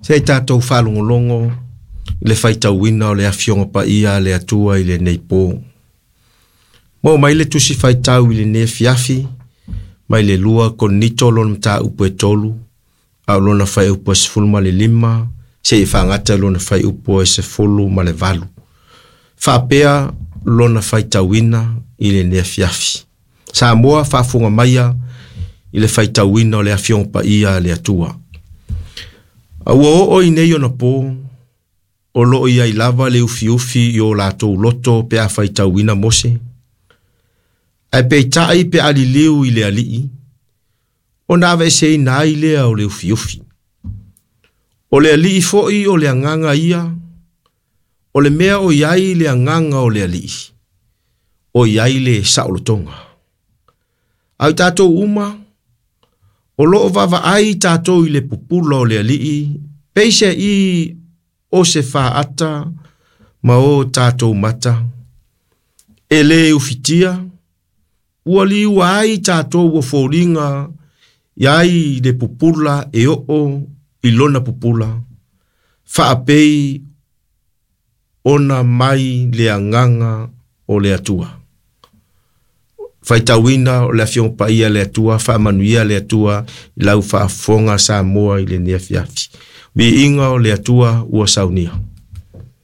Se i tatou faalogologo i le faitauina o le Afioga Paia a le Atua i lenei po. Maua mai le tusi faitau i lenei afiafi mai le 2 Korinito lona mataupu e 3, a o lona fuaiupu e 15, seia faagata i lona fuaiupu e 18. Faapea lona faitauina i lenei afiafi. Samoa faafofoga maia i le faitauina o le Afioga Paia a le Atua. A ua oo i nei ona po, o lo o i ai lava le ufiufi i o latou loto pe a faitauina Mose. Ae peitai pe a liliu i le Alii, ona aveeseina ai lea o le ufiufi. O le Alii foi o le agaga ia, o le mea o i ai le agaga o le Alii, o i ai le saolotoga. A o i tatou uma, o lo o vaavaai tatou i le pupula o le Alii, peiseai o se faata ma o tatou mata, e lē ufitia, ua liua ai tatou ua foliga i ai le pupula e oo i lona pupula, faapei ona mai le agaga o le Atua. Faitauina o le Afioga Paia a le Atua, faamanuia le Atua i lau faafofoga Samoa i lenei afiafi. Viiga o le Atua ua saunia.